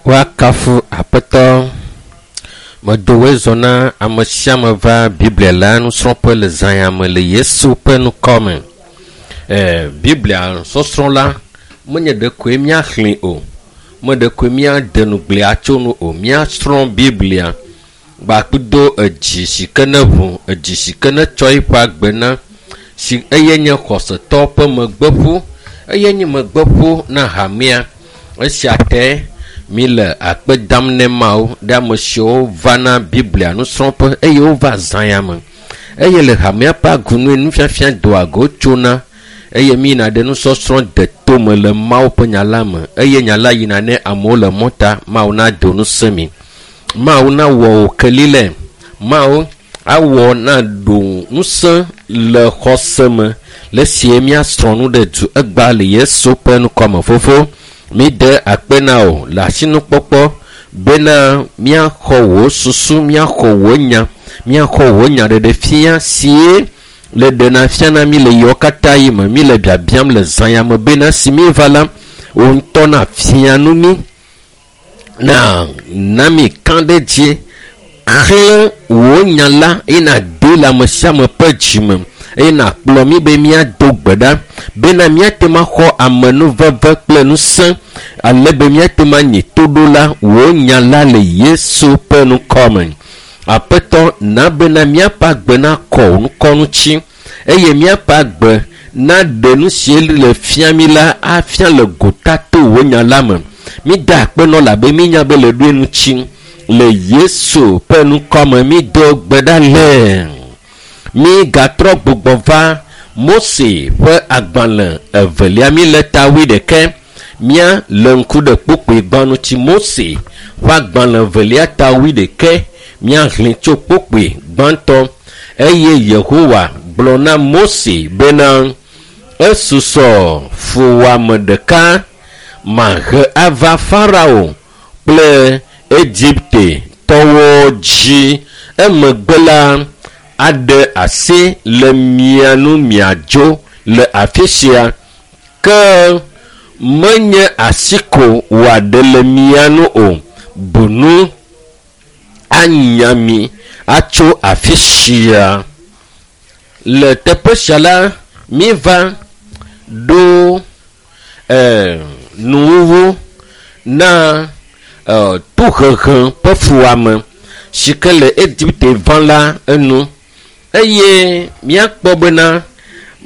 Woakafu Aƒetɔ. Medo woe zɔ na ame sia ame va Biblia la nusrɔ̃ƒe le zã ya me le Yesu ƒe ŋkɔ me. E, Biblia sɔsrɔ̃ la menye ɖekoe míaxlẽe o, me ɖekoe míade nugblẽa tso nu o. Míasrɔ̃ Biblia gbakudo edzi si ke ne ʋu, edzi si ke ne tsɔ eƒe agbe na si eye nye xɔsetɔ ƒe megbeƒu, eye nye megbeƒu na hamea. Esia te mi le akpe dam ne Mawu ɖe ame siwo vana Biblia nusrɔ̃ƒe eye wova zã ya me. Eye le hamea ƒe agunue nufiafia doa go tsona eye mi yina ɖe nusɔsrɔ̃ deto me le Mawu ƒe nya la me eye nya la yina ne amewo le mɔta. Mawu nado ŋusẽ mi. Mawu nawɔ wò kelile. Mawu awɔ naɖo ŋusẽ le xɔse me le esie míasrɔ̃ nu ɖe du egbea le Yesu ƒe ŋkɔme. Fofo, mi de akpe na wò le asinukpɔkpɔ bena míaxɔ wò susu, míaxɔ wò nya, míaxɔ wò nya ɖeɖe fia sie le ɖena fiana mi le yewo katã yi me. Mi le biabiam le zã ya me bena si mi va la, wò ŋutɔ nafia nu mi. Na na mi kã ɖe dzi xlẽ wò nya la eye nàdo le ame sia ame ƒe dzime eye nàkplɔ mi be míado gbe ɖa bena míate ŋu axɔ amenuveve kple ŋusẽ ale be míate ŋu anyi toɖola wò nya la le Yesu ƒe ŋkɔ me. Aƒetɔ, na bena míaƒe agbe nakɔ wò ŋkɔ ŋuti eye míaƒe agbe naɖe nu si le fia mi la afia le gota to wò nya la me. Mi da akpe nɔ labe mínya be le ɖoe ŋuti le Yesu ƒe ŋkɔ me mi do gbe ɖa le. Mi gatrɔ gbugbɔ va Mose ƒe agbalẽ evelia mi le ta wuiɖekɛ. Mía le ŋku ɖe kpukpui gbã ŋuti. Mose ƒe agbalẽ evelia ta wuiɖekɛ míahlẽ tso kpukpui gbãtɔ eye Yehowa gblɔ na Mose bena esusɔ fuwɔame ɖeka mahe ava Farao kple Egipte tɔwo dzi. Emegbe la aɖe asi le mia nu miadzo le afi sia ke menye asi ko wòaɖe le mia nu o, bunu anya mi atso afi sia. Le teƒe sia la, mi va ɖo nuwuwu na tohehe ƒe fuwɔame si ke le Egipte va la enu. Eye míakpɔ bena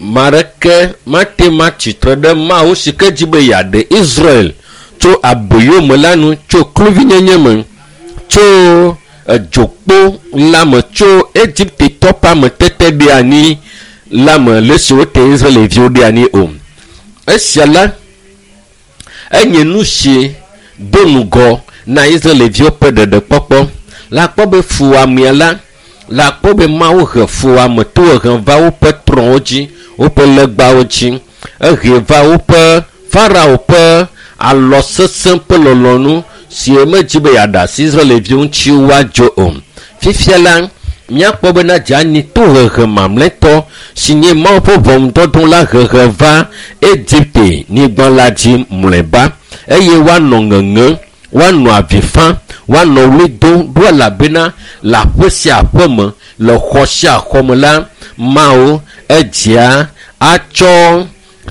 ame aɖeke mate ŋu atsitre ɖe Mawu si ke dzi be yeaɖe Israel tso aboyome la nu, tso kluvinyenye me, tso edzokpo la me, tso Egiptetɔ ƒe ametete ɖe anyi la me le esi wote Israelviwo ɖe anyi o. Esia la, enye nu si do ŋgɔ na Israelviwo ƒe ɖeɖekpɔkpɔ. Le akpɔ be fuwɔamea la, le akpɔ be Mawu he fuwɔame tohehe va woƒe trɔ̃wo dzi, woƒe legbawo dzi. Ehe va woƒe Farao ƒe alɔ sesẽ ƒe lɔlɔ̃nu si medzi be yeaɖe asi Israelviwo ŋuti woadzo o. Fifia la, míakpɔ bena dzeanyi tohehe mamlɛtɔ si nye Mawu ƒe ʋɔnudɔdrɔ̃ la hehe va Egipte nyigba la dzi mlɔeba eye woanɔ ŋeŋe, woanɔ avi fam, woanɔ ɣli dom ɖo elabena le aƒe sia aƒe me, le xɔ sia xɔ me la, Mawu edzea atsɔ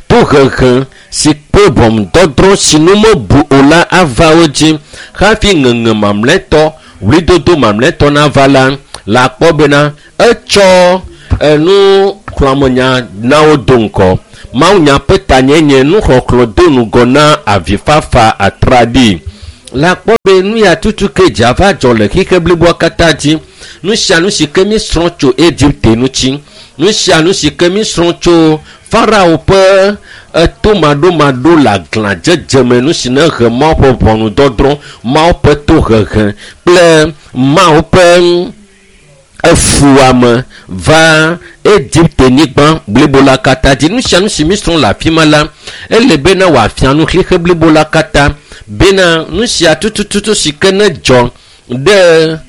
tohehe si kple ʋɔnudɔdrɔ̃ si nu mebu o la ava wo dzi hafi ŋeŋe mamlɛtɔ, ɣlidodo mamlɛtɔ nava la, le akpɔ bena etsɔ enuxlɔ̃amenya na wo do ŋgɔ. Mawunya ƒe tanyenye nuxɔxlɔ̃ do ŋgɔ na avifafa atraɖii. Le akpɔ be nu ya tutu ke dza va dzɔ le xixe bliboa katã dzi. Nu sia nu si ke mísrɔ̃ tso Egipte ŋuti, nu sia nu si ke mísrɔ̃ tso Farao ƒe etomaɖomaɖo le aglãdzedze me, nu si ne he Mawu ƒe ʋɔnudɔdrɔ̃, Mawu ƒe tohehe kple Mawu ƒe efuame va Egipte nyigba blibo la katã dzi. Nu sia nu si mísrɔ̃ le afi ma la, ele bena wòafia nu xixe blibo la katã bena nu sia tutututu si ke ne dzɔ ɖe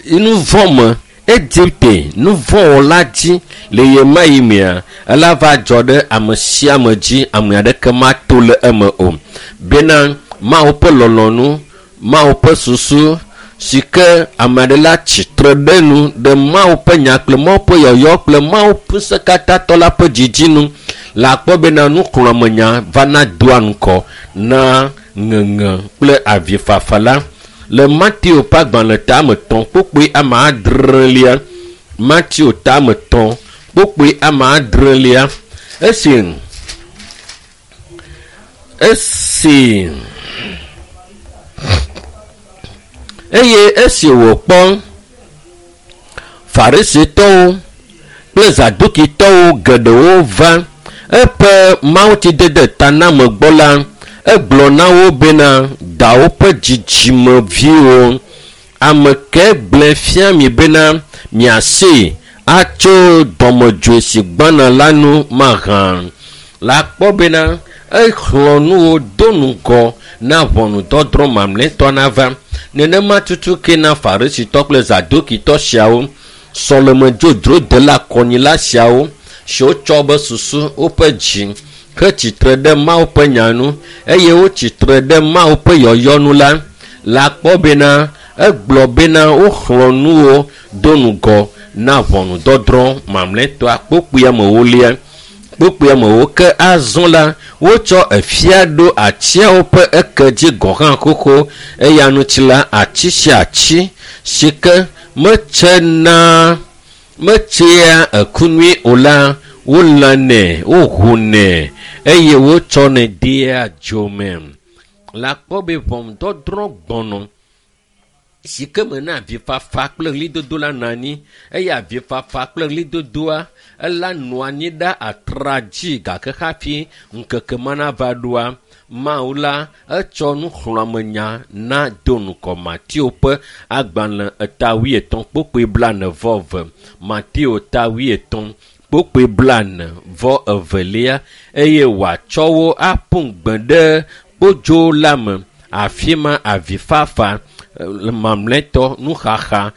nu vɔ̃ me Egipte nu vɔ̃wɔla dzi le ɣe ma ɣi mea, ela va dzɔ ɖe ame sia ame dzi, ame aɖeke mato le eme o. Bena Mawu ƒe lɔlɔ̃nu, Mawu ƒe susu si ke ame aɖe la tsitre ɖe nu ɖe Mawu ƒe nya kple Mawu ƒe yɔyɔ kple Mawu ƒe ŋusẽkatãtɔ la ƒe dzidzi nu le akpɔ bena nuxlɔ̃amenya vana doa ŋgɔ na ŋeŋe kple avifafa la. Le Mateo ƒe agbalẽ tame 3 kpukpui ame adrelia, Mateo tame 3 kpukpui ame adrelia, esi eye esi wòkpɔ Farisitɔwo kple Zadukitɔwo geɖewo va eƒe mawutsidede taname gbɔ la, egblɔ na wo bena dawo ƒe dzidzimeviwo, ame ke gblɔe fia mi bena miasee atso dɔmedzoe si gbɔna la nu mahã. Le akpɔ bena exlɔ̃ nu wo do ŋgɔ na ʋɔnudɔdrɔ̃ mamlɛtɔ nava. Nenema tutu ke na Farisitɔ kple Zadukitɔ siawo, sɔlemedzodzrodela kɔnyila siawo siwo tsɔ be susu woƒe dzi hetsitre ɖe Mawu ƒe nya nu eye wotsitre ɖe Mawu ƒe yɔyɔ nu la, le akpɔ bena egblɔ bena woxlɔ̃ nu wo do ŋgɔ na ʋɔnudɔdrɔ̃ mamlɛtɔa kpukpui amewolia. Kpukpui amewo ke azɔ la, wotsɔ efia ɖo atiawo ƒe eke dzi gɔ̃ hã xoxo eya ŋuti la ati sia ati si ke metsea eku nyui o la, wolãnɛ, wohunɛ eye wotsɔnɛ dea dzo me. Le akpɔ be ʋɔnudɔdrɔ̃ gbɔnɔ si ke me na avifafa kple ɣlidodo la nɔ anyi eye avifafa kple ɣlidodoa ela nɔ anyi ɖa atra dzi gake hafi ŋkeke ma nava ɖoa, Mawu la etsɔ nuxlɔ̃amenya na do ŋgɔ Mateo ƒe agbalẽ eta 50 kpukpui 42, Mateo ta 50 kpukpui 42 eye wòatsɔ wo aƒu gbe ɖe kpodzo la me. Afi ma avifafa mamlɛtɔ, nuxaxa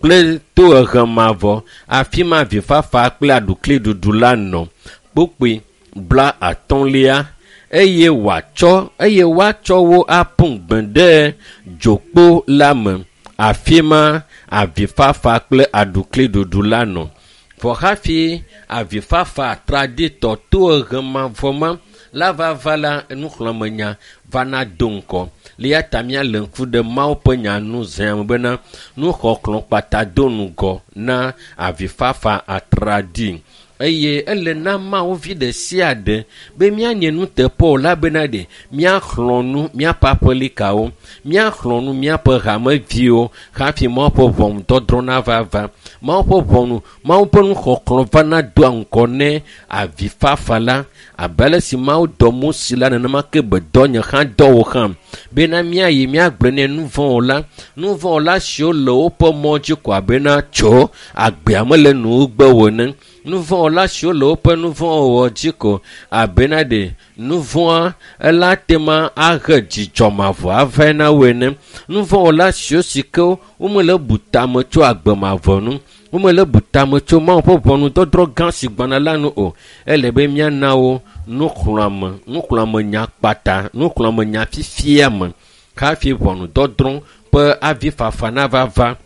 kple tohehe mavɔ. Afi ma avifafa kple aɖukliɖuɖu la nɔ. Kpukpui 50 eye woatsɔ wo aƒu gbe ɖe dzokpo la me. Afi ma avifafa kple aɖukliɖuɖu la nɔ. Vɔ hafi avifafa atraɖitɔ tohehe mavɔ ma La va va la nuxlɔ̃amenya vana do ŋkɔ. Le ya ta míale ŋku ɖe Mawu ƒe nya nu zã me bena nuxɔxlɔ̃ kpata do ŋgɔ na avifafa atraɖii. Eye ele na Mawu vi ɖe sia ɖe be míanye nuteƒewɔla bena ɖe míaxlɔ̃ nu míaƒe aƒelikawo, míaxlɔ̃ nu míaƒe hameviwo hafi Mawu ƒe ʋɔnudɔdrɔ̃ nava va. Mawu ƒe ʋɔnu, Mawu ƒe nuxɔxlɔ̃ vana doa ŋgɔ ne avifafa la. Abe ale si Mawu dɔ Mose la nenema ke be dɔ nye hã dɔ wò hã bena míayi míagblɔe ne nuvɔ̃wɔla, nuvɔ̃wɔla siwo le woƒe mɔ dzi ko abena tso agbea mele nuwugbe o ene. Nuvɔ̃wɔla siwo le woƒe nuvɔ̃wɔwɔ dzi ko abena ɖe nuvɔ̃a ela tema ahe dzidzɔ mavɔ avae na wo ene. Nuvɔ̃wɔla siwo si ke womele bu tame tso agbe mavɔ nu, womele bu tame tso Mawu ƒe ʋɔnudɔdrɔ̃ gã si gbɔna la nu o. Ele be míana wo nuxlɔ̃ame, nuxlɔ̃amenya kpata, nuxlɔ̃amenya fifia me hafi ʋɔnudɔdrɔ̃ ƒe avifafa nava va.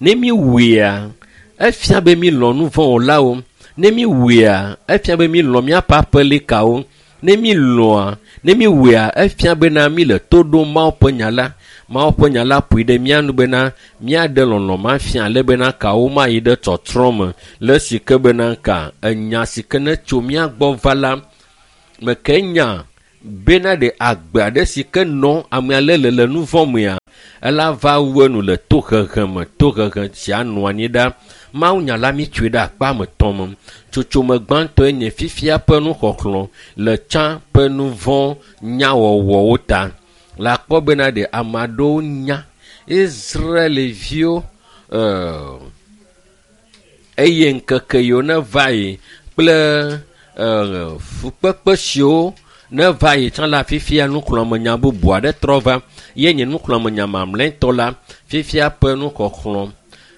Ne míwɔea, efia be mílɔ̃ nuvɔ̃wɔlawo. Ne míwɔea, efia be mílɔ̃ míaƒe aƒelikawo. Ne mílɔ̃a, ne míwɔea, efia bena míle to ɖom Mawu ƒe nya la. Mawu ƒe nya la ƒoe ɖe mía nu bena míaɖe lɔlɔ̃ ma fia ale bena kawo mayi ɖe tsɔtsrɔ̃ me le esi ke bena ka enya si ke ne tso mía gbɔ va la, meke nya bena ɖe agbe aɖe si ke nɔ ame ale le le nu vɔ̃ mea, ela va wu enu le tohehe me. Tohehe sia nɔ anyi ɖa. Mawu nya la mítsoe ɖe akpa me tɔ̃ me. Tsotsome gbãtɔe nye fifia ƒe nuxɔxlɔ̃ le tsã ƒe nu vɔ̃ nyawɔwɔwo ta. Le akpɔ bena ɖe ame aɖewo nya Israelviwo eye ŋkeke yiwo ne va yi kple fukpekpe siwo ne va yi tsã la fifia nuxlɔ̃amenya bubu aɖe trɔ va. Ye nye nuxlɔ̃amenya mamlɛtɔ la fifia ƒe nuxɔxlɔ̃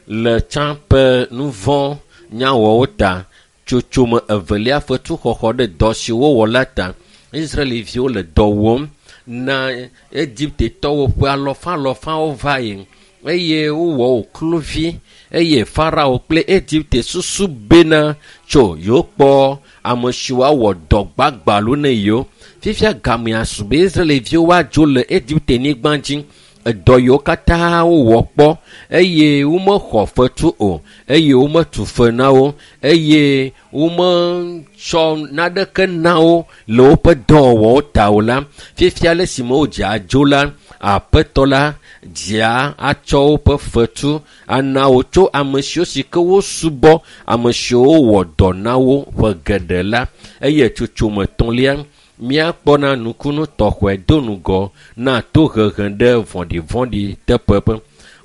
le tsã ƒe nu vɔ̃ nyawɔwo ta. Tsotsome evelia fetuxɔxɔ ɖe dɔ si wowɔ la ta. Israelviwo le dɔ wɔm na Egiptetɔwo ƒe alɔfalɔfawo va yi eye wowɔ wo kluvi eye Farao kple Egipte susu bena tso yewo kpɔ ame siwo awɔ dɔ gbagbalo ne yewo. Fifia gamea su be Israelviwo woadzo le Egipte nyigba dzi. Edɔ yiwo katã wowɔ kpɔ eye womexɔ fetu o eye wometu fe na wo eye wometsɔ naneke na wo le woƒe dɔwɔwɔwo ta o la, fifia le esime wodze adzo la, aƒetɔ la dzea atsɔ woƒe fetu ana wo tso ame siwo si ke wosubɔ, ame siwo wɔ dɔ na wo ƒe geɖe la. Eye tsotsome etɔ̃lia, míakpɔna nukunu tɔxɔe do ŋgɔ na tohehe ɖe vɔ̃ɖivɔ̃ɖi teƒe.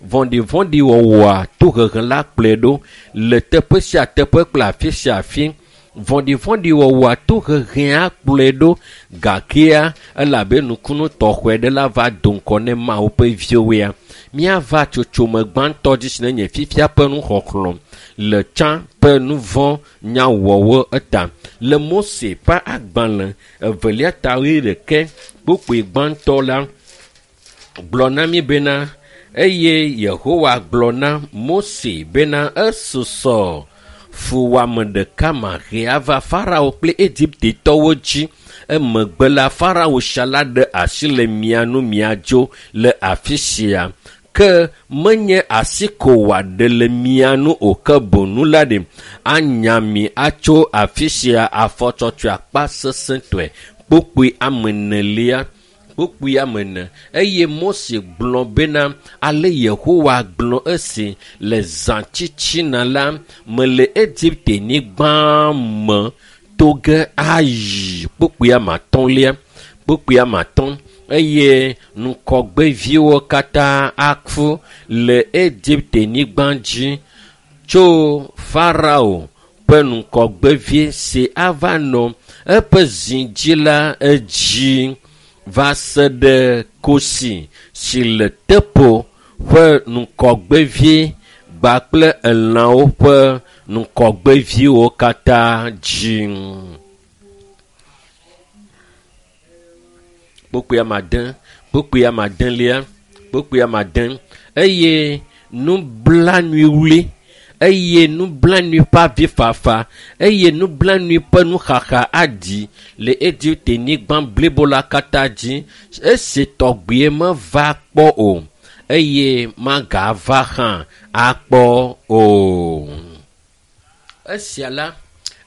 Vɔ̃ɖivɔ̃ɖi wɔwɔa tohehe la kplɔe ɖo le teƒe sia teƒe kple afi sia afi. Vɔ̃ɖivɔ̃ɖi wɔwɔa tohehea kplɔe ɖo gakea elabe nukunu tɔxɔe ɖe la va do ŋgɔ ne Mawu ƒe viwoea. Míava tsotsome gbãtɔ dzi si ne nye fifia ƒe nuxɔxlɔ̃ le tsã ƒe nu vɔ̃ nyawɔwɔ eta. Le Mose ƒe agbalẽ evelia ta wuiɖekɛ kpukpui gbãtɔ la gblɔ na mí bena eye Yehowa gblɔ na Mose bena esusɔ fuwɔame ɖeka mahe ava Farao kple Egiptetɔwo dzi. Emegbe la Farao sia la ɖe asi le mia nu miadzo le afi sia. Ke menye asi ko wòaɖe le mia nu o ke boŋ la ɖe anya mi atso afi sia afɔtsɔtsɔe akpa sesẽtɔe. Kpukpui ame enelia. Kpukpui ame ene. Eye Mose gblɔ bena ale Yehowa gblɔ esi le zã tsitsina la mele Egipte nyigba me to ge ayi. Kpukpui ame atɔ̃lia. Kpukpui ame atɔ̃. Eye ŋkɔgbeviwo katã aku le Egipte nyigba dzi tso Farao ƒe ŋkɔgbevi si ava nɔ eƒe zi dzi la edzi va se ɖe kosi si le teƒo ƒe ŋkɔgbevi kpakple elãwo ƒe ŋkɔgbeviwo katã dzi. Kpukpui ame ade, kpukpui ame adelia, kpukpui ame ade. Eye nublanuiwli eye nublanui ƒe avifafa eye nublanui ƒe nuxaxa aɖi le Egipte nyigba blibo la katã dzi. Esi tɔgbie meva kpɔ o eye magava hã akpɔ o. Esia la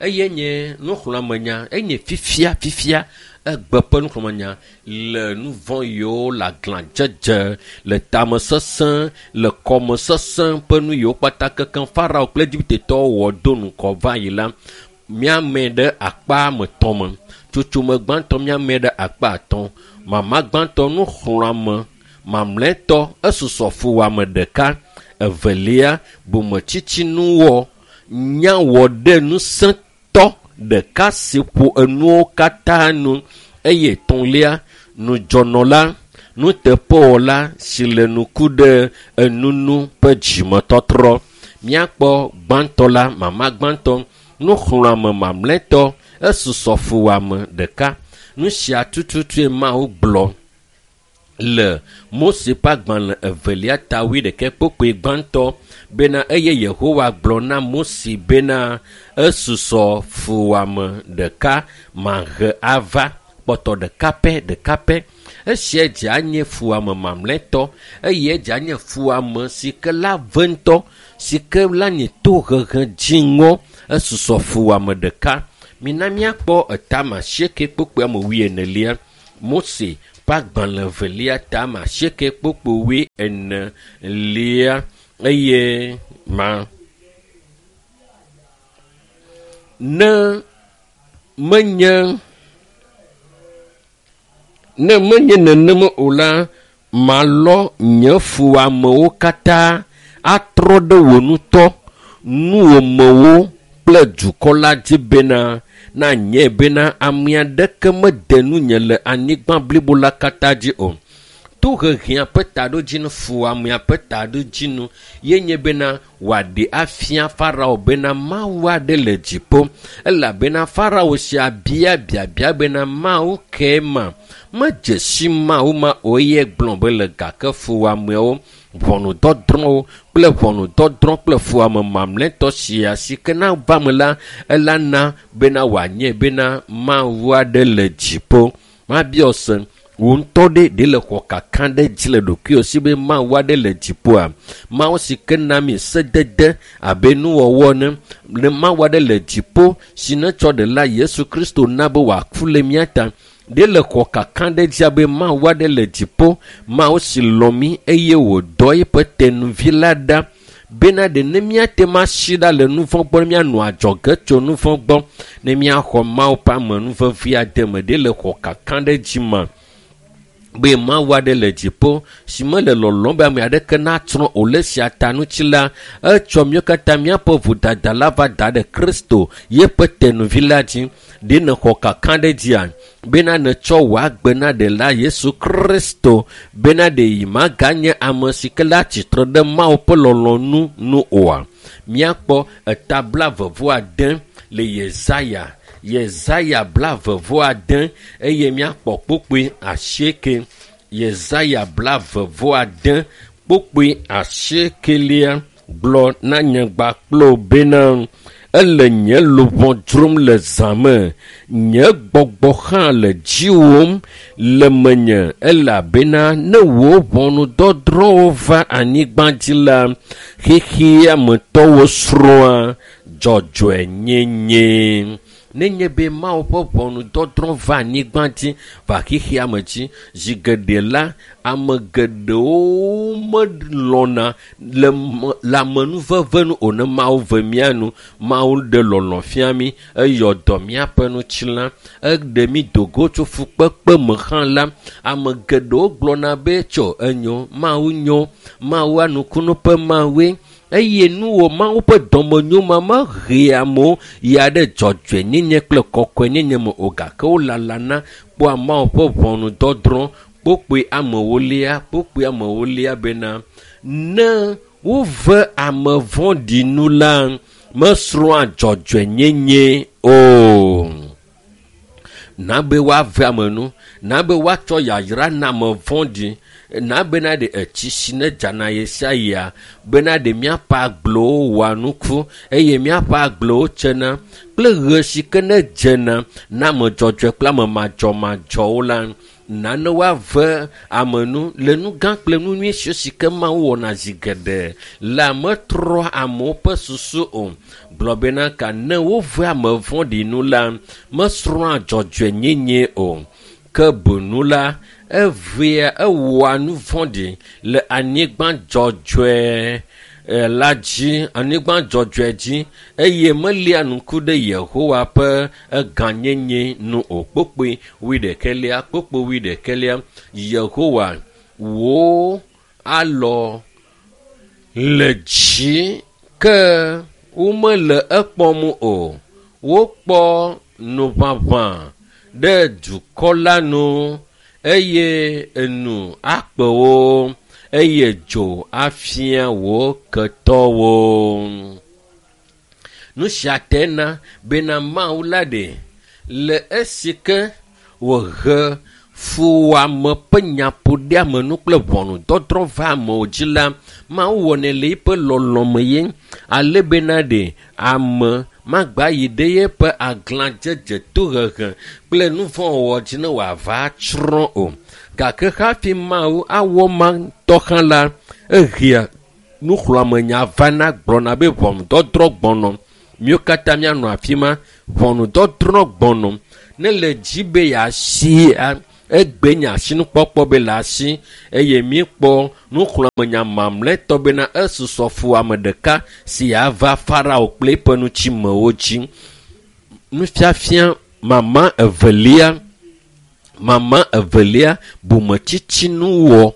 eye nye nuxlɔ̃amenya enye fifia fifia egbe ƒe nuxlɔ̃amenya le nu vɔ̃ yiwo le aglãdzedze le tamesesẽ le kɔmesesẽ ƒe nu yiwo kpata kekeŋ Farao kple Egiptetɔwo wɔ do ŋgɔ va yi la, míame ɖe akpa ame etɔ̃ me. Tsotsome gbãtɔ míame ɖe akpa atɔ̃. Mama gbãtɔ nuxlɔ̃ame mamlɛtɔ esusɔ fuwɔame ɖeka. Evelia bometsitsinuwɔ nyawɔ ɖe ŋusẽtɔ ɖeka si ƒo enuwo katã nu eye etɔ̃lia nudzɔnɔla nuteƒewɔla si le nuku ɖe enunu ƒe dzimetɔtrɔ. Míakpɔ gbãtɔ la mama gbãtɔ nuxlɔ̃ame mamlɛtɔ esusɔ fuwɔame ɖeka. Nu sia tututue Mawu gblɔ le Mose ƒe agbalẽ evelia ta wuiɖekɛ kpokpoe gbãtɔ bena eye Yehowa gblɔ na Mose bena esusɔ fuwɔame ɖeka mahe ava kpɔtɔ ɖeka pɛ ɖeka pɛ. Esia dze anye fuwɔame mamlɛtɔ eye edze anye fuwɔame si ke la ve ŋutɔ si ke la nye tohehe dziŋɔ esusɔ fuwɔame ɖeka. Mina míakpɔ etame asieke kpokpoe ame wuienelia. Mose ƒe agbalẽ evelia tame asieke kpokpoe wuienelia eye ma ne menye ne menye nenema o la, malɔ nye fuwɔamewo katã atrɔ ɖe wò ŋutɔ nuwòmewo kple dukɔ la dzi bena nanye bena ame aɖeke mede nunye le anyigba blibo la katã dzi o. Tohehea ƒe taɖodzinu fuwɔamea ƒe taɖodzinu ye nye bena wòaɖe afia Farao bena Mawu aɖe le dziƒo elabena Farao sia bia biabia bena Mawu ke ma medze si Mawu ma o eye gblɔ be le gake fuwɔameawo ʋɔnudɔdrɔ̃wo kple ʋɔnudɔdrɔ̃ kple fuwɔame mamlɛtɔ sia si ke na va me la ela na bena wòanye bena Mawu aɖe le dziƒo. Mabiɔ se wò ŋutɔ ɖe ɖe le xɔ kaka ɖe dzi le ɖokuiwò si be Mawu aɖe le dziƒoa? Mawu si ke na mi sedede abe nuwɔwɔ ene. Ne Mawu aɖe le dziƒo si netsɔ ɖela Yesu Kristo na be wòaku le mía ta. Ɖe le xɔ kaka ɖe dzi abe Mawu aɖe le dziƒo, Mawu si lɔ̃ mí eye wòdɔ eƒe tenuvi la ɖa bena ɖe ne míate ŋu asi ɖa le nu vɔ̃ gbɔ ne míanɔ adzɔge tso nu vɔ̃ gbɔ ne míaxɔ Mawu ƒe amenuveve ade me ɖe le xɔ kaka ɖe dzi ma be Mawu aɖe le dziƒo si mele lɔlɔ̃m be ame aɖeke natsrɔ̃ o le esia ta ŋuti la, etsɔ míawo katã míaƒe vodada la va da ɖe Kristo yeƒe tenuvi la dzi. Ɖe nèxɔ kaka ɖe dzia bena nètsɔ wò agbe na ɖela Yesu Kristo bena ɖe yi maganye ame si ke la tsitre ɖe Mawu ƒe lɔlɔ̃nu nu oa? Míakpɔ eta blaeve-vɔ-ade le Yesaya Yesaya blaeve-vɔ-ade eye míakpɔ kpokpoe asieke. Yesaya blaeve-vɔ-ade kpokpoe asiekelia gblɔ na nyagba kple wò bena ele nye luʋɔ dzrom le zã me, nye gbɔgbɔ hã le dziwòm le menye elabena ne wò ʋɔnudɔdrɔ̃wo va anyigba dzi la, xexea me tɔwo srɔ̃a dzɔdzɔenyenye. Nenye be Mawu ƒe ʋɔnudɔdrɔ̃ va anyigba dzi va xexea me dzi, zi geɖe la, ame geɖewo melɔ̃na le le amenuveve nu o ne Mawu ve mía nu. Mawu ɖe lɔlɔ̃ fia mí, eyɔ dɔ míaƒe ŋutilã, eɖe mí do go tso fukpekpe me hã la, ame geɖewo gblɔna be tso enyo, Mawu nyo, Mawu anukunu ƒe Mawue eye nuwɔ Mawu ƒe dɔmenyo ma mehea amewo yia ɖe dzɔdzɔenyenye kple kɔkɔenyenye me o gake wolalana kpɔa Mawu ƒe ʋɔnudɔdrɔ̃ kpokpoe amewolia kpokpoe amewolia bena ne wove ame vɔ̃ɖi nu la mesrɔ̃a dzɔdzɔenyenye o. Na be woave ame nu, na be woatsɔ yayra na ame vɔ̃ɖi. Na bena ɖe etsi si ne dzana ɣe sia ɣia bena ɖe míaƒe agblewo wɔa nuku eye míaƒe agblewo tsena kple ɣe si ke ne dzena na ame dzɔdzɔe kple ame madzɔmadzɔwo la nanewo ave ame nu le nu gã kple nu nyui siwo si ke Mawu wɔna zi geɖe la metrɔa amewo ƒe susu o. Gblɔ bena ka ne wove ame vɔ̃ɖi nu la mesrɔ̃a dzɔdzɔenyenye o ke bunu la evea ewɔa nu vɔ̃ɖi le anyigba dzɔdzɔe la dzi anyigba dzɔdzɔe dzi eye melia ŋku ɖe Yehowa ƒe egãnyenye nu o. Kpokpoe wuiɖekɛlia kpokpoe wuiɖekɛlia Yehowa wò alɔ le dzi ke womele ekpɔm o. Wokpɔ nuʋaʋã ɖe dukɔ la nu eye enu akpe wo eye dzo afia wò ketɔwo. Nu sia te na bena Mawu la ɖe le esi ke wòhe fuwɔame ƒe nyaƒoɖeamenu kple ʋɔnudɔdrɔ̃ va amewo dzi la, Mawu wɔnɛ le eƒe lɔlɔme ye ale bena ɖe ame magba yi ɖe yeƒe aglãdzedze tohehe kple nu vɔ̃ wɔwɔ dzi ne wòava tsrɔ̃ o. Gake hafi Mawu awɔ ma ŋutɔ hã la, ehea nuxlɔ̃amenya vana gblɔna be ʋɔnudɔdrɔ̃ gbɔnɔ. Míwo katã míanɔ afi ma. Ʋɔnudɔdrɔ̃ gbɔnɔ. Ne le dzi be yeasi egbe nye asinukpɔkpɔ be le asi eye míekpɔ nuxlɔ̃amenya mamlɛtɔ bena esusɔ fu ame ɖeka si yeava Farao kple eƒe ŋutimewo dzi. Nufiafia mama evelia mama evelia bometsitsi nuwɔ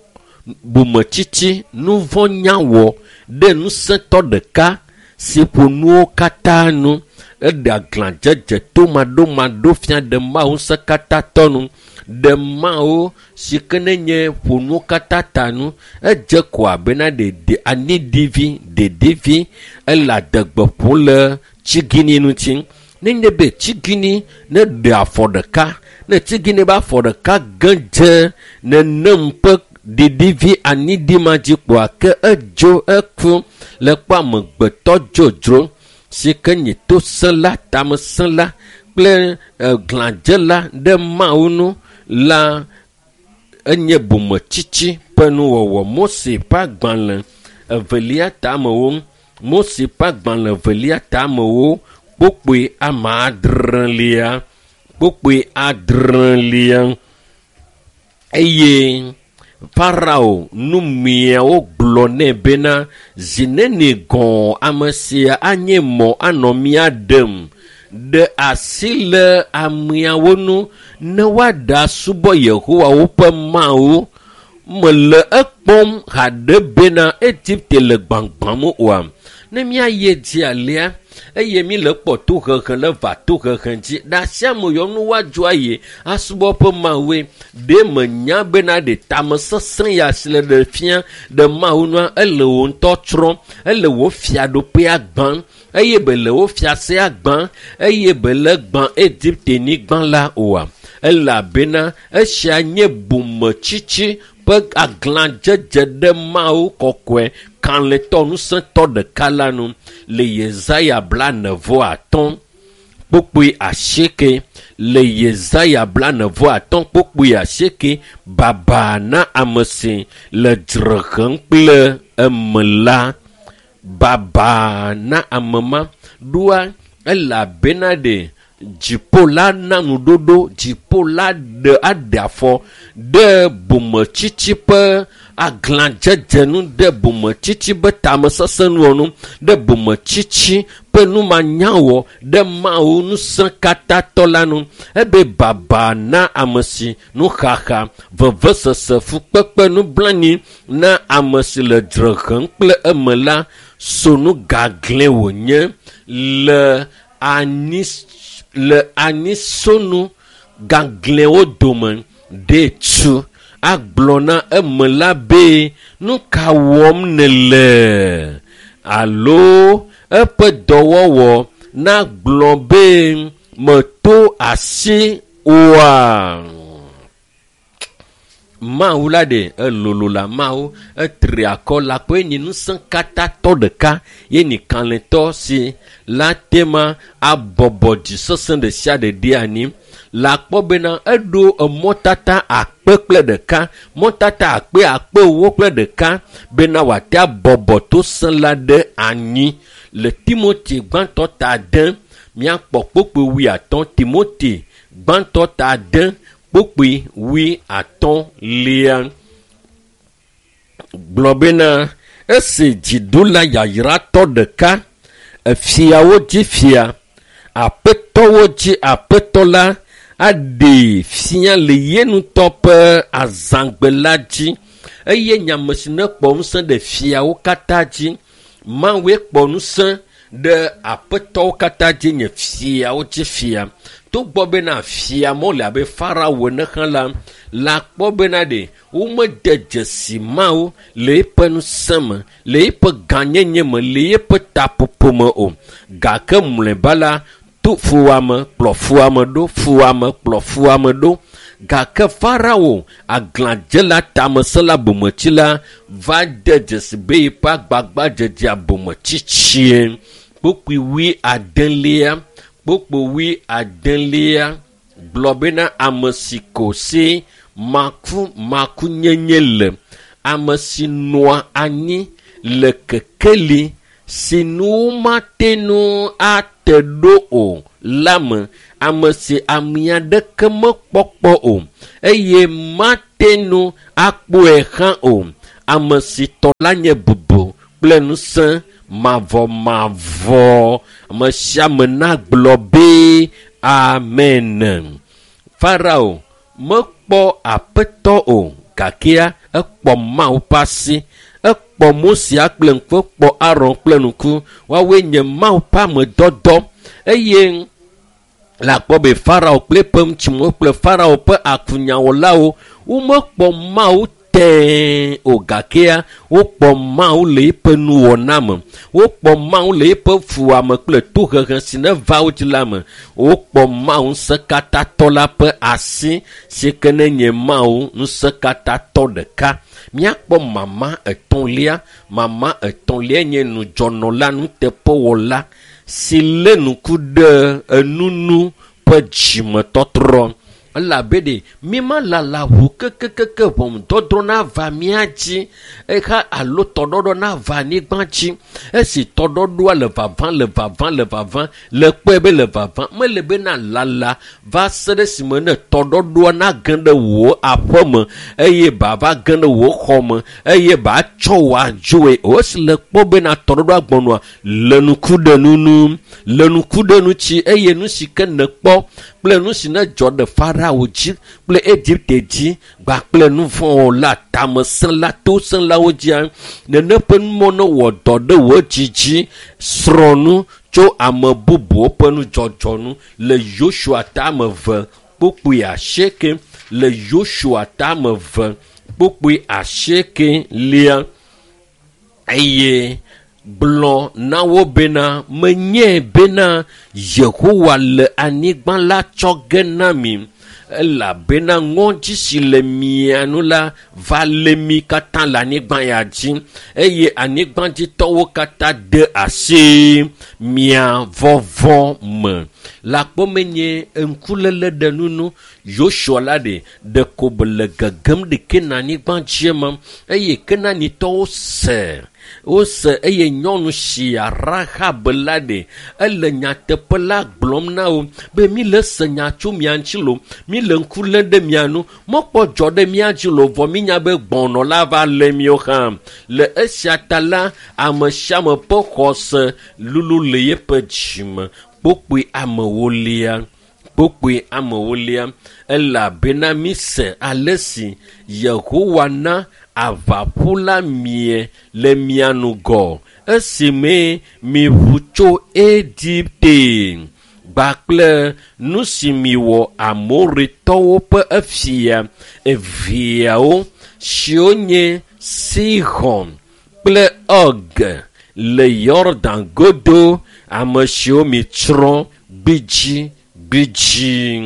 bometsitsi nuvɔ̃nyawɔ ɖe ŋusẽtɔ ɖeka si ƒo nuwo katã nu. Eɖe aglãdzedze tomaɖomaɖo fia ɖe Mawu ŋusẽkatãtɔ nu ɖe Mawu si ke ne nye ƒo nuwo katã ta nu. Edze ko abena ɖe aniɖivi ɖeɖivi ele adegbe ƒom le tsigini ŋuti. Nenye be tsigini ne ɖe afɔ ɖeka ne tsigini be afɔ ɖeka ge dze nenem ƒe ɖiɖivi aniɖi ma dzi kpoa ke edzo eku le kpɔ amegbetɔ dzodzro si ke nye tosẽla tamesẽla kple glãdzela ɖe Mawu nu la enye bometsitsi ƒe nuwɔwɔ. Mose ƒe agbalẽ evelia tamewo Mose ƒe agbalẽ evelia tamewo kpokpoe ame adrelia kpokpoe adrelia eye Farao numiawo gblɔ nɛ bena zi neni gɔ̃ ame sia anye mɔ anɔ mía ɖem ɖe asi le ameawo nu ne woaɖe asubɔ Yehowa woƒe Mawu. Mele ekpɔm haɖe bena Egipte le gbagbãm oa. Ne míayi edzi alea eye mi le kpɔ tohehe le va tohehe dzi ɖe asia ame yɔ nu woadzo ayi asubɔ ƒe Mawue ɖe menya bena ɖe tamesesẽ ya si le ɖe fia ɖe Mawu nua ele wò ŋutɔ tsrɔ̃m ele wò fiaɖoƒea gbãm eye be le wò fiasea gbãm eye be le gbã Egipte nyigba la oa. Elabena esia nye bometsitsi ƒe aglãdzedze ɖe Mawu kɔkɔe kalẽtɔ ŋusẽtɔ ɖeka la nu le Yesaya 45 kpukpui 8 le Yesaya 45 kpukpui 8 baba na ame si le dzre hem kple eme la baba na ame ma ɖoa elabena ɖe dziƒo la na nuɖoɖo dziƒo la ɖe aɖe afɔ ɖe bometsitsi ƒe aglãdzedze nu ɖe bometsitsi ƒe tamesesẽ nuwɔnu ɖe bometsitsi ƒe numanyawɔ ɖe Mawu ŋusẽkatãtɔ la nu. Ebe baba na ame si nuxaxa, vevesese, fukpekpe, nublanui na ame si le dzre hem kple eme la sonu gaglɛ wònye le anyi le anyisonu gaglɛwo dome ɖe tu agblɔ na eme la be nu ka wɔm nèle alo eƒe dɔwɔwɔ nagblɔ be meto asi oa. Mawu la ɖe elolo la Mawu etri akɔ la kpɔ enyi ŋusẽ katã tɔ ɖeka ye nyi kalẽtɔ si la tema abɔbɔ dzisesẽ ɖe sia ɖe ɖe anyi. La kpɔ bena eɖo emɔtata akpe kple ɖeka, mɔtata akpe 40,000 bena wòate abɔbɔ to sẽ la ɖe anyi. Le Timothy gbãtɔ ta 6 míakpɔ kpokpoe 50. Timothy gbãtɔ ta 6 kpokpoe 50 gblɔ bena esi dziɖula yayratɔ ɖeka, efiawo dzi fia, aƒetɔwo dzi aƒetɔ la aɖee fia le ye ŋutɔ ƒe azãgbe la dzi eye nyame si ne kpɔ ŋusẽ ɖe fiawo katã dzi. Mawue kpɔ ŋusẽ ɖe aƒetɔwo katã dzi nye fiawo dzi fia. Togbɔ bena fia mɔ le abe Farao ene hã la, la kpɔ bena ɖe womede dzesi Mawu le eƒe ŋusẽ me, le eƒe gãnyenye me, le eƒe taƒoƒo me o. Gake mlɔeba la, to fuwɔame kplɔ fuwɔame ɖo, fuwɔame kplɔ fuwɔame ɖo. Gake Farao aglãdzela tamesẽla bometsila va de dzesi be yeƒe agbagbadzedzea bometsitsie. Kpokpoe 80, kpokpoe 80 gblɔ bena ame si ko si makumakunyenye le, ame si nɔa anyi le kekeli si nu mate ŋu ate ɖo o la me, ame si ame aɖeke mekpɔkpɔ o eye mate ŋu akpɔe hã o, ame si tɔ la nye bubu kple ŋusẽ mavɔmavɔ. Ame sia ame nagblɔ be amen. Farao mekpɔ aƒetɔ o, gakea ekpɔ Mawu ƒe asi. Ekpɔ Mose kple ŋku, ekpɔ Aron kple ŋku. Woawoe nye Mawu ƒe amedɔdɔ. Eye le akpɔ be Farao kple eƒe ŋutsuwo kple Farao ƒe akunyawɔlawo womekpɔ Mawu tẽe o, gakea wokpɔ Mawu le eƒe nuwɔna me. Wokpɔ Mawu le eƒe fuwɔame kple tohehe si ne va wo dzi la me. Wokpɔ Mawu ŋusẽkatãtɔ la ƒe asi si ke ne nye Mawu ŋusẽkatãtɔ ɖeka. Míakpɔ mama etɔ̃lia. Mama etɔ̃lia nye nudzɔnɔla nuteƒewɔla si lé ŋku ɖe enunu ƒe dzimetɔtrɔ. Elabe ɖe míma lala ʋu kekekeke ʋɔnudɔdrɔ̃ nava mía dzi exa alo tɔɖɔɖɔ nava anyigba dzi. Esi tɔɖɔɖɔa le vava le vava le vava le kpɔe be le vava mele bena lala va se ɖe esime ne tɔɖɔɖɔa nage ɖe wò aƒe me eye ba va ge ɖe wò xɔ me eye ba tsɔ wò adzoe o. Esi le kpɔ bena tɔɖɔɖɔa gbɔnɔa le ŋku ɖe nunu, le ŋku ɖe ŋuti eye nu si ke nekpɔ kple nu si ne dzɔ ɖe Farao dzi kple Egipte dzi kpakple nu vɔ̃wɔla tamesẽla tosẽlawo dzia, nene ƒe numɔ ne wɔ dɔ ɖe wò dzi dzi. Srɔ̃ nu tso ame bubuwo ƒe nudzɔdzɔ nu le Yosua tame 2 kpokpoe 8, le Yosua tame 2 kpokpoe 8 eye gblɔ na wo bena menye bena Yehowa le anyigba la tsɔ ge na mi, elabena ŋɔdzi si le mia nu la va lé mi katã le anyigba ya dzi eye anyigbadzitɔwo katã de asi mia vɔvɔ me. Le akpɔ menye ŋkuléle ɖe nunu Yosua la ɖe ɖeko be le gegem ɖe Kenanyigba dzi me eye Kenanyitɔwo se wose eye nyɔnu sia Rahab la ɖe ele nyateƒe la gblɔm na wo be mi le se nya tso mia ŋuti lo, mi le ŋku lém ɖe mia nu, mekpɔ dzɔ ɖe mia dzi lo, vɔ mi nya be gbɔnɔ la va lé miwo hã. Le esia ta la, ame sia ame ƒe xɔse lulu le yeƒe dzime. Kpokpoe amewolia, kpokpoe amewolia, elabena mi se ale si Yehowa na aʋaƒu la mie le mia ŋgɔ esime miʋu tso Egipte kpakple nu si miwɔ Amoritɔwo ƒe efia eveawo siwo nye Sihon kple Og le Yɔdan godo, ame siwo mitsrɔ̃ gbidzigbidzi.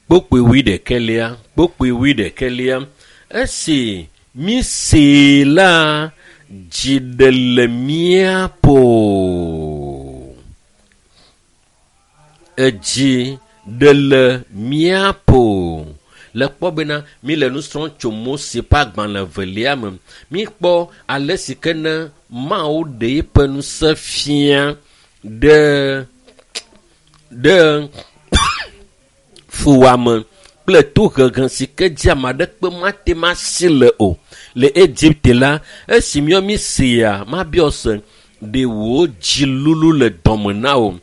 Kpokpoe wuiɖekɛlia, kpokpoe wuiɖekɛlia. Esi mísee la, dzi ɖe le mía ƒo. Edzi ɖe le mía ƒo. Le kpɔ bena míle nu srɔ̃m tso Mose ƒe agbalẽ evelia me. Míkpɔ ale si ke ne Mawu ɖe eƒe ŋusẽ fia ɖe ɖe fuwɔame kple tohehe si ke dzi ame aɖeke mate ŋu asi le o le Egipte la, esi míɔ mísea, mabiɔ se, ɖe wò dzi lulu le dɔme na wò.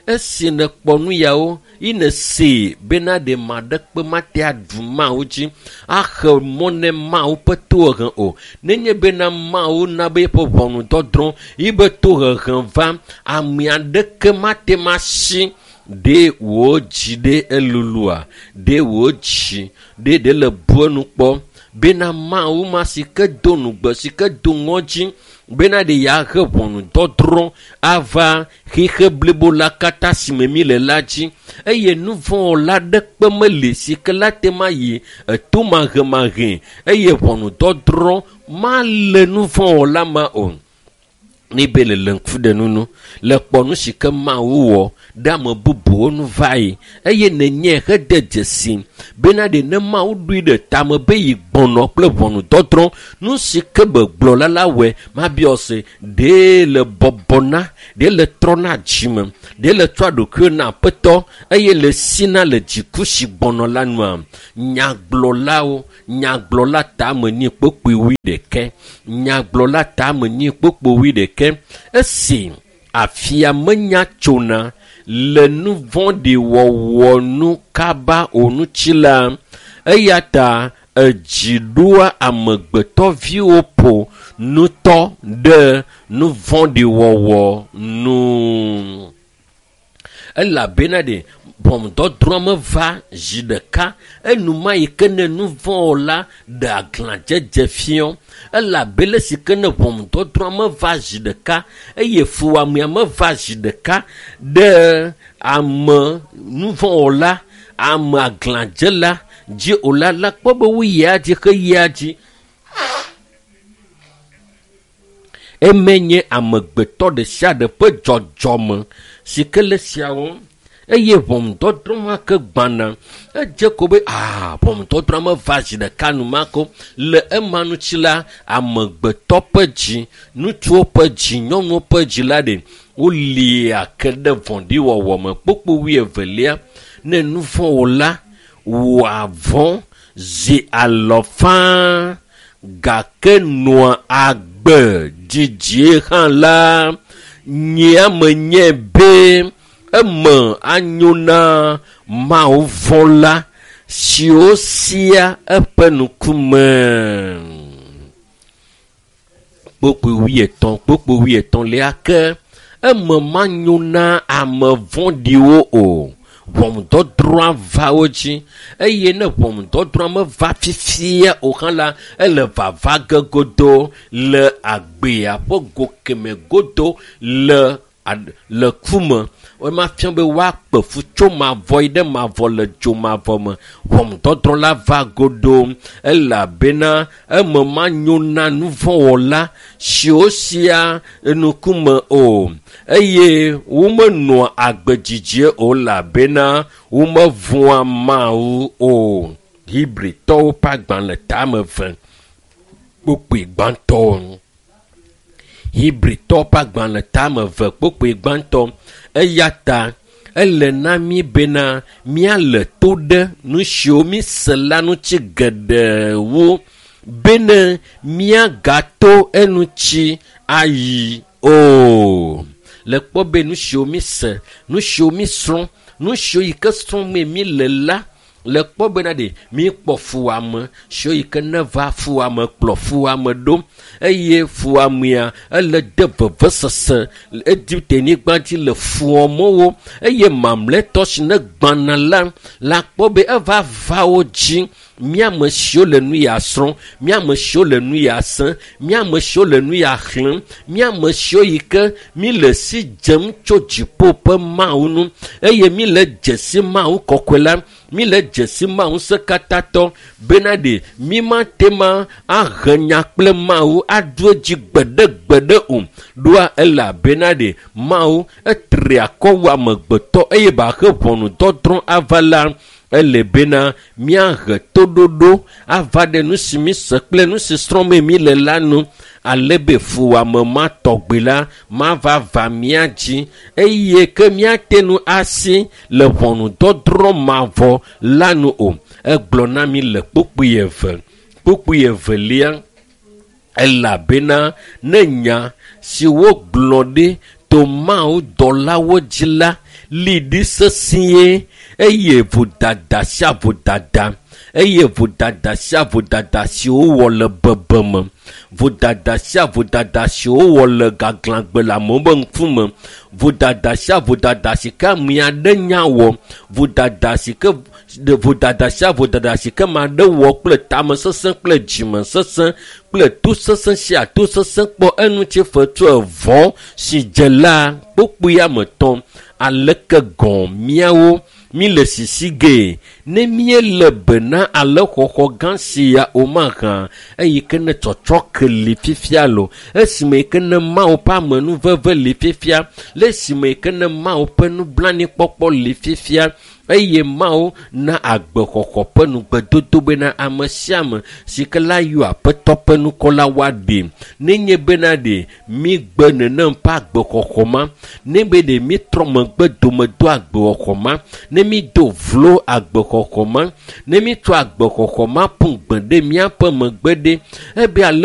Esi nèkpɔ nu yawo yi nèsee bena ɖe ame aɖeke mate aɖu Mawu dzi axe mɔ ne Mawu ƒe tohehe o. Nenye bena Mawu na be eƒe ʋɔnudɔdrɔ̃ yibe tohehe va, ame aɖeke mate ŋu asi ɖe wò dzi ɖe elulua, ɖe wò dzi ɖe ɖe le bu enu kpɔ bena Mawu ma si ke do nugbe si ke do ŋɔdzi bena ɖe yeahe ʋɔnudɔdrɔ̃ ava xixe blibo la katã si me mi le la dzi eye nu vɔ̃wɔla aɖeke meli si ke la te ma yi eto mahemahe eye ʋɔnudɔdrɔ̃ male nu vɔ̃wɔla ma o. Ne be le le ŋku ɖe nunu le kpɔ nu si ke Mawu wɔ ɖe ame bubuwo nu va yi eye nenye hede dzesi bena ɖe ne Mawu ɖoe ɖe tame be yi gbɔnɔ kple ʋɔnudɔdrɔ̃ nu si ke begblɔ la la wɔe mabiɔ se ɖe le bɔbɔna ɖe le trɔna dzime ɖe le tsɔa ɖokuiwo na aƒetɔ eye le sina le dziku si gbɔnɔ la nua. Nyagblɔlawo nyagblɔla tame nyi kpokpoe wuiɖekɛ nyagblɔla tame nyi kpokpoe wuiɖekɛ esi afia menya tsona le nu vɔ̃ɖi wɔwɔ nu kaba o ŋuti la, eya ta edzi ɖoa amegbetɔviwo ƒo ŋutɔ ɖe nu vɔ̃ɖi wɔwɔ nu. Elabena ɖe ʋɔnudɔdrɔ̃ meva zi ɖeka enuma yi ke ne nu vɔ̃wɔla ɖe aglãdzedze fiɔ elabe le si ke ne ʋɔnudɔdrɔ̃ meva zi ɖeka eye fuwɔamea meva zi ɖeka ɖe ame nu vɔ̃wɔla ame aglãdzela dzi o la la kpɔ be woyia dzi xeyia dzi. Eme nye amegbetɔ ɖe sia ɖe ƒe dzɔdzɔme si ke le siawo eye ʋɔnudɔdrɔ̃ ma ke gbãna edze ko be aa ʋɔnudɔdrɔ̃ meva zi ɖeka enumake le ema ŋuti la amegbetɔ ƒe dzi ŋutsuwo ƒe dzi nyɔnuwo ƒe dzi la ɖe wolia ke ɖe vɔ̃ɖiwɔwɔ me. Kpokpo wuievelia ne nu vɔ̃wɔla wɔa vɔ̃ zi alɔ faa gake nɔa agbe dzidzie hã la nyea menye be eme anyo na Mawu vɔ̃la siwo sia eƒe ŋkume. Kpokpoe wuietɔ̃ kpokpoe wuietɔ̃lia ke eme manyo na ame vɔ̃ɖiwo o. Ʋɔnudɔdrɔ̃ va wo dzi eye ne ʋɔnudɔdrɔ̃ meva fifia o hã la ele vava ge godo le agbea ƒe go keme godo le le ku me. Wema fia be woakpe fu tso mavɔ yi ɖe mavɔ le dzo mavɔ me. Ʋɔnudɔdrɔ̃ la va godo elabena eme manyo na nu vɔ̃wɔla siwo sia ŋkume o eye womenɔa agbe dzidzie o elabena womevɔ̃a Mawu o. Hebritɔwo ƒe agbalẽ tame eve kpokpoe gbãtɔ. Hebritɔwo ƒe agbalẽ tame eve kpokpoe gbãtɔ. Eya ta ele na mí bena míale to ɖe nu siwo míse la ŋuti geɖe wu bene míagato eŋuti ayi o. Le kpɔ be nu siwo míse, nu siwo mísrɔ̃, nu siwo yi ke srɔ̃mee míle la, le kpɔ bena ɖe míkpɔ fuwɔame siwo yi ke neva fuwɔame kplɔ fuwɔame ɖo eye fuwɔamea ele de vevesese Egipte nyigba dzi le fuwɔmewo eye mamlɛtɔ si ne gbãna la la kpɔ be eva va wo dzi. Míame siwo le nu ya srɔ̃, míame siwo le nu ya sẽ, míame siwo le nu ya xlẽm, míame siwo yi ke míle si dzem tso dziƒo ƒe Mawu nu eye míle dze si Mawu kɔkɔe la, míle dze si Mawu ŋusẽkatãtɔ bena ɖe mímate ma ahe nya kple Mawu aɖu edzi gbeɖegbeɖe o. Ɖoa elabena ɖe Mawu etri akɔ wu amegbetɔ eye baahe ʋɔnudɔdrɔ̃ ava la, ele bena míahe toɖoɖo ava ɖe nu si míse kple nu si srɔ̃mee míle la nu, ale be fuwɔame ma tɔgbi la mava va mía dzi eye ke míate ŋu asi le ʋɔnudɔdrɔ̃ mavɔ la nu o. Egblɔ na mí le kpukpui eve, kpukpui evelia, elabena ne nya si wogblɔ ɖi to Mawu dɔlawo dzi la li ɖi sesĩe eye vodada sia vodada eye vodada sia vodada si wowɔ le bebeme, vodada sia vodada si wowɔ le gaglãgbe le amewo ƒe ŋkume, vodada sia vodada si ke ame aɖe nya wɔ, vodada si ke vodada sia vodada si ke ame aɖe wɔ kple tamesesẽ kple dzimesesẽ kple tosesẽ sia tosesẽ kpɔ eŋuti fetu evɔ si dze la kpukpui ame etɔ̃. Aleke gɔ̃ míawo míle sisi gee ne míele be na ale xɔxɔ gã sia o mahã eyi ke ne tsɔtsɔke li fifia lo, esime yi ke ne Mawu ƒe amenuveve li fifia, le esime yi ke ne Mawu ƒe nublanuikpɔkpɔ li fifia eye Mawu na agbexɔxɔ ƒe nugbedodo bena ame sia ame si ke la yɔ Aƒetɔ ƒe ŋkɔ la woaɖee. Nenye bena ɖe mígbe nenem ƒe agbexɔxɔ ma, ne be ɖe mítrɔ megbe dome do agbexɔxɔ ma, ne mído vlo agbexɔxɔ ma, ne mítsɔ agbexɔxɔ ma ƒu gbe ɖe míaƒe megbe ɖe, ebe ale